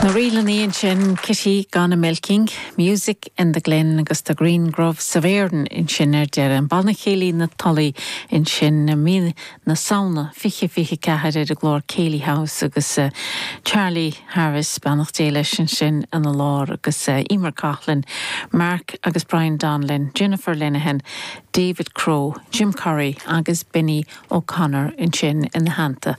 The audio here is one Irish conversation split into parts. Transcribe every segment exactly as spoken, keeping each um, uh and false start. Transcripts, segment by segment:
Na rílanna ansin Kitty Gone a Milking, Music in the Glen agus the Green Groves of Erin ansin ar deireadh an Banna Céilí na Tulaí ansin mí na Samhna fiche fiche ceathair ar an gclár Céilí House agus uh, Charlie Harris beannacht Dé leis ansin ina lár agus uh, Emer Coughlin, Mark agus Brian Donlin, Jennifer Linehan, David Crow, Jim Curry agus Benny O'Connor ansin ina theannta.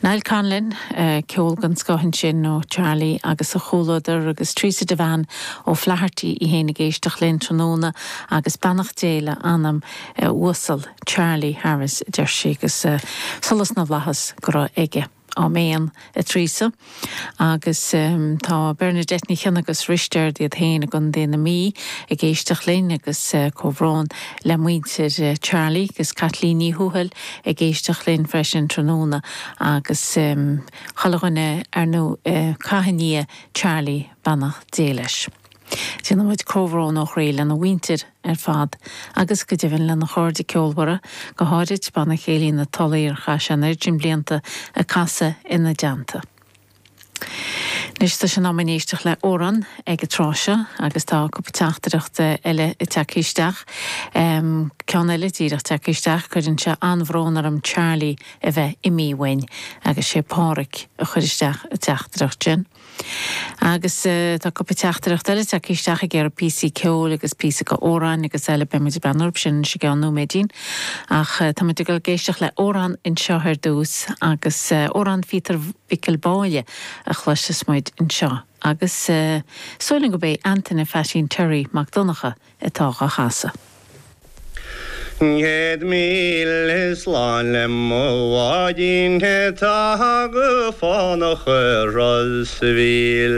Niall Conlon uh, ceol den scoth ansin ó Charlie agus a chomhluadar agus Teresa Devane ó Flaherty í héin ag éisteacht linn tráthnóna agus beannacht Dé le anam uh, uasal Charlie Harris deir sí agus uh, solas na bhflaitheas go raibh aige. Áiméan a Teresa agus um, tá Bernadette Ní Chionnaith agus Risteard iad féin i gContae na Mí ag éisteacht linn agus uh, comhbhrón le muintir uh, Charlie agus Kathleen Ní Thuathail ag éisteacht linn freisin tráthnóna agus um, chalachine ar nó uh, cainia Charlie beannacht Dé leis. Déanaimid comhbhrón ó chroí lena mhuintir ar fad agus go deimhin lena chairde ceolmhara go háirid Banna Céilí na Tulaí ar chaith sé an oiread sin blianta ag casadh ina dteannta. Anois tá sé in am éisteacht le amhrán ag an tráth seo agus tá cúpla teachtaireacht eile tagtha isteach. Um, Ceann eile díreach tagtha isteach cuireann sé an-bhrón orm Charlie a bheith imithe uainn agus sé Pádraig a chuir isteach an teachtaireacht sin. Agus uh, tá cúpla teachtaireacht eile tagtha isteach ag ar píosaí ceoil agus píosa go amhrán agus eile beimid ag breathnú sin sé gan nóiméidín ach uh, tá ag éisteacht le amhrán anseo ar dtús agus uh, amhrán Phíotair Mhicil Báille a chloisfeas muid anseo. Agus uh, sóilin go bé Antaine Pheaitsín Terry Mac Donncha atá á chasadh. Céad míle slán le mo bháidín tá go fánach Ros a' Mhíl.